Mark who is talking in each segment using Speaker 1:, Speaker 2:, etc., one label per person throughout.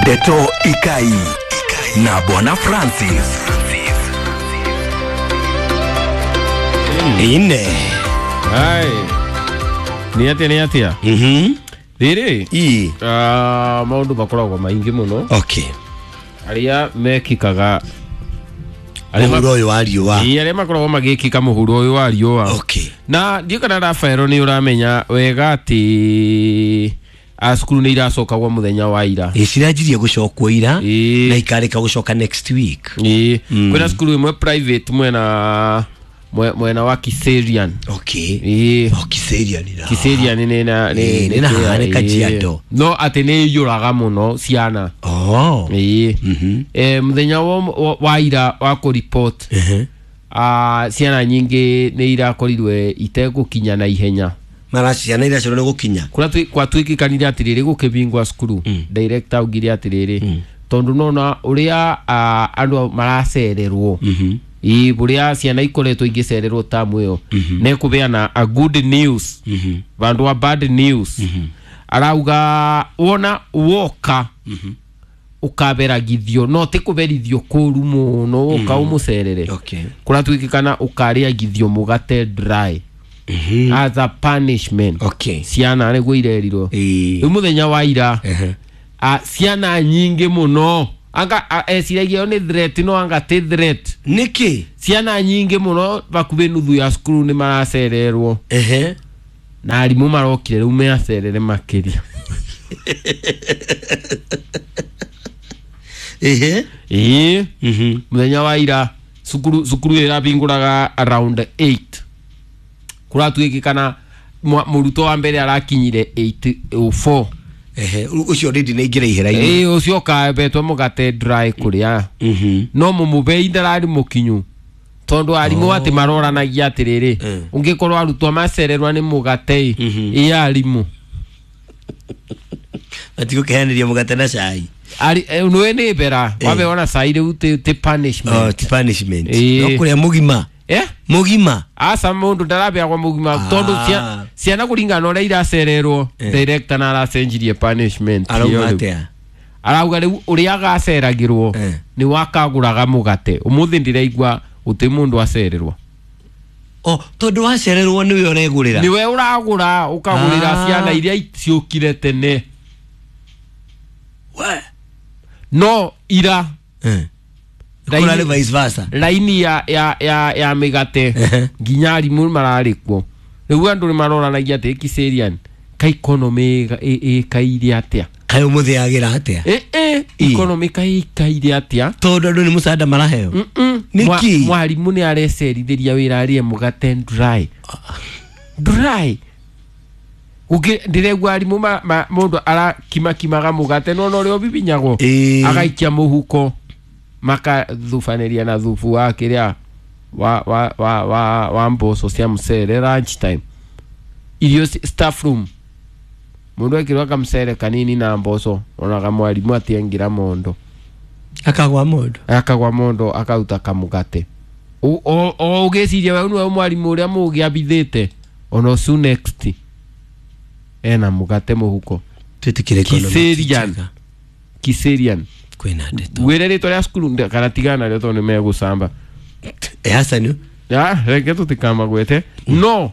Speaker 1: Ndeto Ikai na Bwana Francis.
Speaker 2: Ine.
Speaker 3: Ai. Nĩ atĩa, nĩ atĩa? Rĩrĩ
Speaker 2: I.
Speaker 3: Maũndũ makoragwo maingĩ mũno arĩa mekĩkaga arĩa
Speaker 2: Mũhuro ũyũ wa riũa.
Speaker 3: Ĩĩ, arĩa makoragwo magĩkĩka mũhuro ũyũ wa riũa. Na ndiũ kana Rafaelo nĩ ũramenya wega atĩ cukuru nĩ iracokagwo mũthenya wa ira.
Speaker 2: Ĩ, ciranjirie gũcokwo ira
Speaker 3: Ĩĩ.
Speaker 2: na ikarĩka gũcoka next week.
Speaker 3: Ĩĩ, kwĩna cukuru ĩmwe private mwena mwena wa Kiserian. Ĩĩ.
Speaker 2: O Kiserian na.
Speaker 3: Kiserian nĩ na
Speaker 2: Ĩĩ, nĩ na haha nĩ Kajiado.
Speaker 3: No atĩ nĩ iyũraga mũno ciana.
Speaker 2: Oh.
Speaker 3: Ĩĩ. Mũthenya wa ira wa kũripot, ciana nyingĩ nĩ irakorirwe itegũkinya na ihenya.
Speaker 2: Mara ciana iria cio nĩ gũkinya.
Speaker 3: Kũrĩa gwatuĩkĩkanire atĩrĩrĩ, gũkĩbingwa cukuru, director augire atĩrĩrĩ, tondũ nona ũrĩa andũ maracererwo, ĩĩ, ũrĩa ciana ikoretwo igĩcererwo tamu ĩyo, nĩkũbeana a good news vandũ wa bad news. Arauga wona woka ũkaberagithio, no ti kũberithio kũru mũno, woka ũmũcerere. Kũratuĩkĩkana ũkarĩagithio mũgate dry as a punishment. Ciana nĩguo irerirwo. Rĩu mũthenya wa ira, ciana nyingĩ mũno anga eciragia ĩyo nĩ threat, no anga ti threat.
Speaker 2: Nĩkĩ?
Speaker 3: Ciana nyingĩ mũno, bakuhĩ nuthu ya cukuru nĩ maracererwo. Na arimũ marokire rĩu meacerere makĩria. Ĩĩ. Mũthenya wa ira cukuru ĩrabingũraga around 8, kũratuĩkĩkana mũrutwo wa mbere arakinyire 8:04.
Speaker 2: Ũcio rĩndĩ nĩ aingĩra ihera-inĩ.
Speaker 3: Ĩĩ, ũcio ũkabetwo mũgate dry kũrĩa. No mũmũbei ndararĩ mũkinyu, tondũ arimũ atĩ maroranagia atĩrĩrĩ, ũngĩkorwo arutwo macererwa nĩ mũgate ĩ, ĩ arimũ
Speaker 2: Matigũkĩheanĩria mũgate na cai.
Speaker 3: Nĩwe nĩ mbera wabeona cai rĩu ti punishment.
Speaker 2: Oh, ti punishment.
Speaker 3: Ĩĩ.
Speaker 2: No kũrĩa mũgima.
Speaker 3: Eh?
Speaker 2: Mũgima.
Speaker 3: Aca, mũndũ ndarabeagwo mũgima tondũ ciana kũringana na ũrĩa iracererwo, director na aracenjirie punishment
Speaker 2: Arauga
Speaker 3: ĩyo rĩu.
Speaker 2: atĩa?
Speaker 3: Arauga rĩu ũrĩa agaceragĩrwo nĩ wakagũraga mũgate. Ũmũthĩ ndĩraigua gũtĩ mũndũ acererwo.
Speaker 2: Oh, tondũ wacererwo nĩwe ũregũrĩra.
Speaker 3: Nĩwe ũragũra, ũkagũrĩra ciana iria ciũkire tene.
Speaker 2: We.
Speaker 3: No ira
Speaker 2: Kũrarĩ vice versa.
Speaker 3: Raini ya mĩgate nginya arimũ mararĩ kuo. Rĩu andũ nĩ maroranagia atĩ Kiserian ka economy ĩkaire atĩa?
Speaker 2: Kaĩ ũmũthĩ yagĩra atĩa?
Speaker 3: Ĩ economy ka ĩkaire atĩa?
Speaker 2: Tondũ andũ nĩ mũcanda maraheo. Nĩkĩ?
Speaker 3: Mwarimũ nĩ arecerithĩria wĩra arĩe mũgate dry dry. Ndĩraigua arimũ mũndũ arakimakimaga mũgate nona ũrĩa ũbibinyagwo, agaikia mũhuko, makathubanĩria na thubu wa kĩrĩa wa mboco cia mũcere lunch time, irio staff room, mũndũ ekĩrwo kamũcere kanini na mboco, onaga mwarimũ atiengĩra mondo.
Speaker 2: Akagwa mũndũ.
Speaker 3: Akagwa mondo, akauta kamũgate. O ũgĩciria we nĩwe mwarimũ ũrĩa mũũgĩ abithĩte, ona ũcio next ena mũgate mũhuko.
Speaker 2: Twĩtĩkĩre economy ti
Speaker 3: Kiserian.
Speaker 2: njega.
Speaker 3: Kiserian.
Speaker 2: Kwĩna ndeto.
Speaker 3: Wĩre rĩtwa rĩa cukuru kana tigana narĩo tondũ nĩ megũcamba.
Speaker 2: Hassan.
Speaker 3: Ya, reke tũtikamagwete, no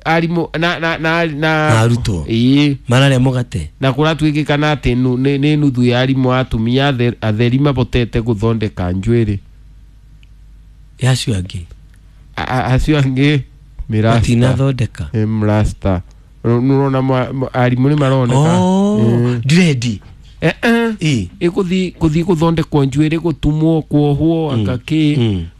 Speaker 3: arimũ na na na na
Speaker 2: Na arutwo.
Speaker 3: Ĩĩ.
Speaker 2: Mararĩa mũgate.
Speaker 3: Na kũratuĩkĩkana atĩ nĩ nuthu ya arimũ atumia atheri mabotete gũthondeka njuĩrĩ.
Speaker 2: Ya acio angĩ.
Speaker 3: Acio angĩ mĩrasta.
Speaker 2: Matinathondeka.
Speaker 3: Ĩ, mrasta nũrona arimũ nĩ maroneka.
Speaker 2: Oh, dread.
Speaker 3: Eh, eh.
Speaker 2: Ĩ.
Speaker 3: Ĩkũthi kũthi gũthondekwo njuĩrĩ, gũtumwo, kuohwo, anga kĩ.